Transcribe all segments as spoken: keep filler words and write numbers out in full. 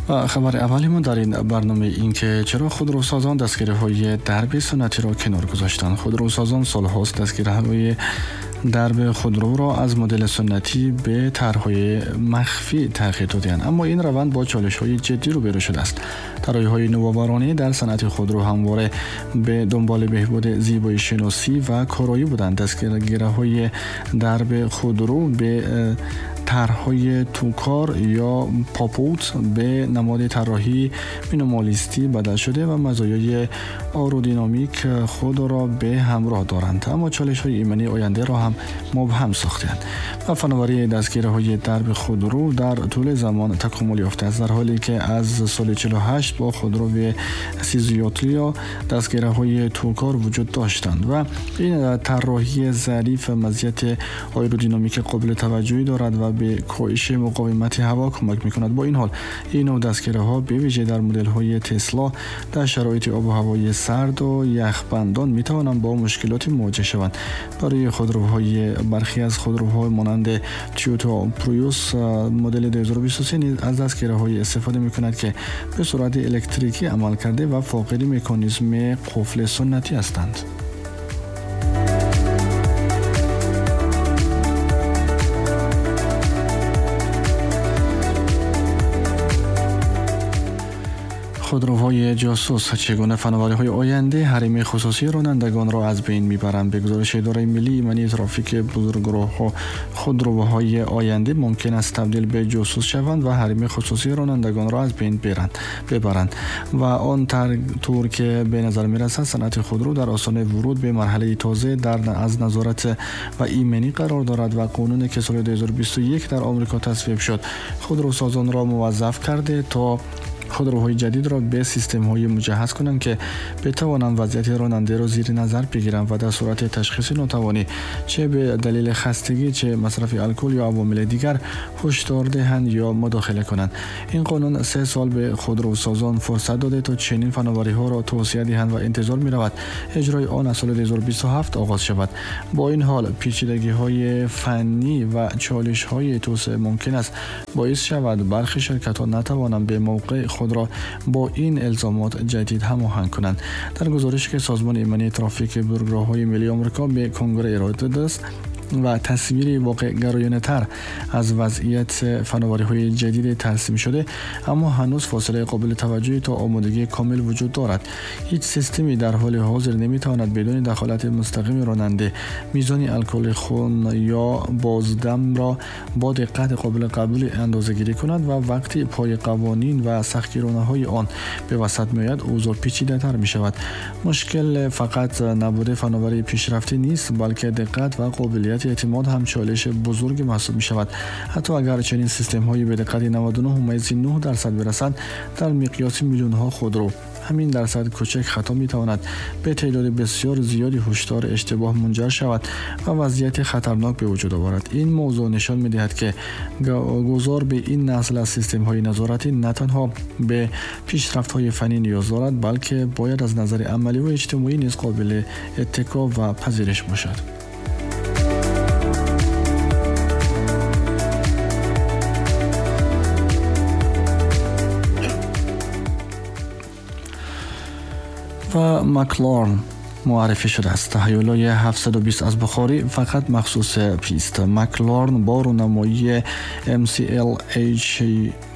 خبر اولیمون در این برنامه این که چرا خودروسازان دستگیره‌های درب سنتی را کنار گذاشتند. خودروسازان سالهاست دستگیره‌های درب خودرو را از مدل سنتی به طرح‌های مخفی تغییر دادند، اما این روند با چالش‌های جدی روبرو شده است. طراحی‌های نوآورانه در صنعت خودرو همواره به دنبال بهبود زیبایی شناسی و کارایی بودند. دستگیره‌های درب خودرو به طرح‌های توکار یا پاپوت به نماد طراحی مینیمالیستی بدل شده و مزایای آرودینامیک خود را به همراه دارند، اما چالش‌های ایمنی آینده را هم مبهم ساختند. و فناوری دستگیره‌های درب خودرو در طول زمان تکامل یافته است، در حالی که از سال چهل و هشت با خودرو سیزیوتلیا دستگیره‌های توکار وجود داشتند و این طراحی ظریف مزیت آیرودینامیک قابل توجهی دارد و به کاهش مقاومت هوا کمک می‌کند. با این حال این نوع دستگیره‌ها به ویژه در مدل‌های تسلا در شرایط آب و هوای سرد و یخبندان می‌توانند با مشکلات مواجه شوند. برای خودروهای برخی از خودروها مانند تویوتا پریوس مدل دو هزار و بیست و سه نیز از دستگیره‌های استفاده می‌کند که به صورت الکتریکی عمل کرده و فاقد مکانیزم قفل سنتی هستند. خودروهای جاسوس چگونه فناوری‌های آینده حریم خصوصی رانندگان را از بین می‌برند؟ به گزارش اداره ملی ایمنی ترافیک بزرگراه‌ها، خودروهای آینده ممکن است تبدیل به جاسوس شوند و حریم خصوصی رانندگان را از بین برند ببرند و آن طور که به نظر می‌رسد صنعت خودرو در آستانه ورود به مرحله تازه در از نظارت و ایمنی قرار دارد و قانون که سال دو هزار و بیست و یک در آمریکا تصویب شد خودروسازان را موظف کرده تا خودروهای جدید را به سیستم‌های مجهز کنند که بتوانند وضعیت راننده را زیر نظر بگیرند و در صورت تشخیص ناتوانی چه به دلیل خستگی چه مصرف الکل یا عوامل دیگر هشدار دهند یا مداخله کنند. این قانون سه سال به خودروسازان فرصت داده تا چنین فناوری‌ها را توسعه دهند و انتظار می‌رود اجرای آن از سال دو هزار و بیست و هفت آغاز شود. با این حال پیچیدگی‌های فنی و چالش‌های توسعه ممکن است باعث شود برخی شرکت‌ها نتوانند به موقع خود را با این الزامات جدید هماهنگ کنند. در گزارشی که سازمان ایمنی ترافیک بزرگراه‌های ملی آمریکا به کنگره ارائه داده است و تصویری واقع گرایانه تر از وضعیت فناوری‌های جدید ترسیم شده، اما هنوز فاصله قابل توجهی تا آمادگی کامل وجود دارد. هیچ سیستمی در حال حاضر نمی‌تواند بدون دخالت مستقیم راننده میزان الکل خون یا بازدم را با دقت قابل قبول اندازه‌گیری کند و وقتی پای قوانین و سختگیرانه‌های آن به وسط می‌آید اوضاع پیچیده‌تر می‌شود. مشکل فقط نبود فناوری پیشرفته نیست، بلکه دقت و قابلیت اعتماد هم چالش بزرگ محسوب می شود. حتی اگر چنین سیستم هایی به دقت نود و نه ممیز نه درصد برسند، در مقیاس میلیون ها خودرو همین درصد کوچک خطا می تواند به تعداد بسیار زیادی هشدار اشتباه منجر شود و وضعیت خطرناک به وجود آورد. این موضوع نشان می دهد که گذار به این نسل از سیستم های نظارتی نه تنها به پیشرفت های فنی نیاز دارد، بلکه باید از نظر عملی و اجتماعی نیز قابل اتکا و پذیرش باشد. و مکلارن معرفی شده است. هیولای هفتصد و بیست از بخاری فقط مخصوص پیست. مکلارن با رونمایی ام سی ال اچ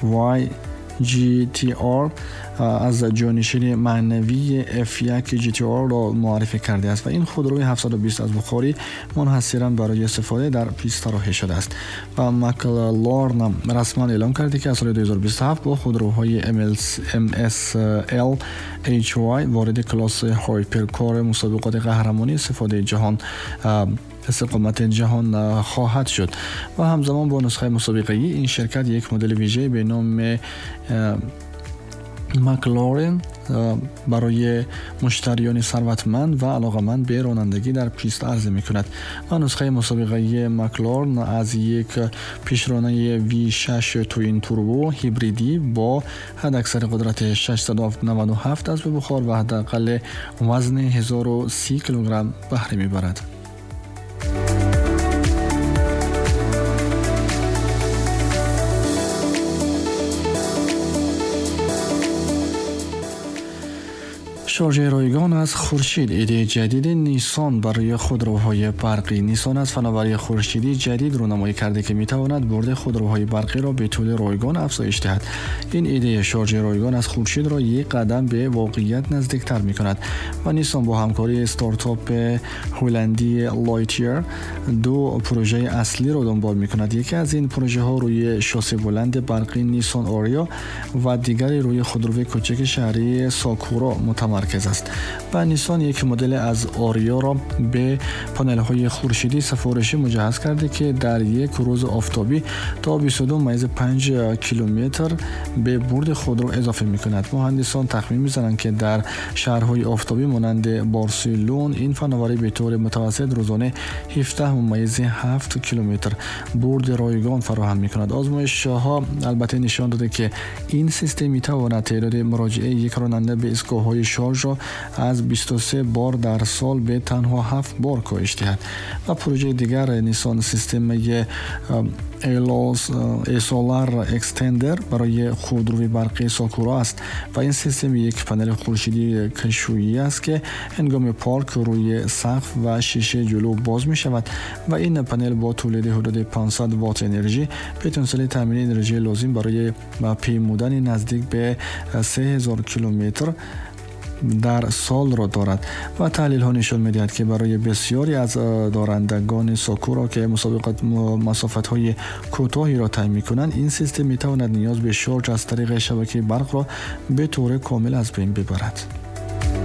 وای جی تی آر از جانشین معنوی اف یک جی تی آر را معرفی کرده است و این خودروی هفتصد و بیست از بخاری منحصراً برای استفاده در پیست طراحی شده است و مکلارن رسما اعلام کرده که از سال دو هزار و بیست و هفت با خودروهای ام اس ال اچ وای وارد کلاس hypercar مسابقات قهرمانی استفاده جهان استقامت جهان خواهد شد و همزمان با نسخه مسابقه‌ای این شرکت یک مدل ویژه به نام مکلارن برای مشتریان ثروتمند و علاقه‌مند به رانندگی در پیست عرضه می‌کند و نسخه مسابقه‌ای مکلارن از یک پیشرانه وی شش twin turbo هیبریدی با حداکثر قدرت ششصد و نود و هفت اسب بخار و حداقل وزن هزار و سی کیلوگرم بهره می‌برد. شارژ رایگان از خورشید، ایده جدید نیسان برای خودروهای برقی. نیسان از فناوری خورشیدی جدید رونمایی کرده که میتواند برد خودروهای برقی را به طول رایگان افزایش دهد. این ایده شارژ رایگان از خورشید را یک قدم به واقعیت نزدیکتر میکند و نیسان با همکاری استارتاپ هلندی لایتیر دو پروژه اصلی را دنبال میکند. یکی از این پروژه ها روی شاسی بلند برقی نیسان آریا و دیگری روی خودروی کوچک شهری ساکورا متمرکز است. و نیسان یک مدل از آریا را به پانل های خورشیدی سفارشی مجهز کرده که در یک روز آفتابی تا بیست و دو ممیز پنج کیلومتر به برد خودرو اضافه می کند. مهندسان تخمین می‌زنند که در شهرهای آفتابی مانند بارسلون این فناوری به طور متوسط روزانه هفده ممیز هفت کیلومتر برد رایگان فراهم می کند. آزمایش ها البته نشان داده که این سیستم می تواند تعداد مراجعه یک راننده به ایستگاه‌های شارژ را از بیست و سه بار در سال به تنها هفت بار کاهش دهد. و پروژه دیگر نیسان سیستم ایسولار اکستندر برای خودروی برقی ساکورا است و این سیستم یک پنل خورشیدی کشویی است که هنگام پارک روی سقف و شیشه جلو باز می شود و این پنل با تولید حدود پانصد وات انرژی پتانسیل تامین انرژی لازم برای پیمودن نزدیک به سه هزار کیلومتر در سال را دارد. و تحلیل ها نشان می‌دهد که برای بسیاری از دارندگان ساکورا که مسابقات مسافت های کوتاهی را طی می‌کنند، این سیستم می‌تواند نیاز به شارژ از طریق شبکه برق را به طور کامل از بین ببرد.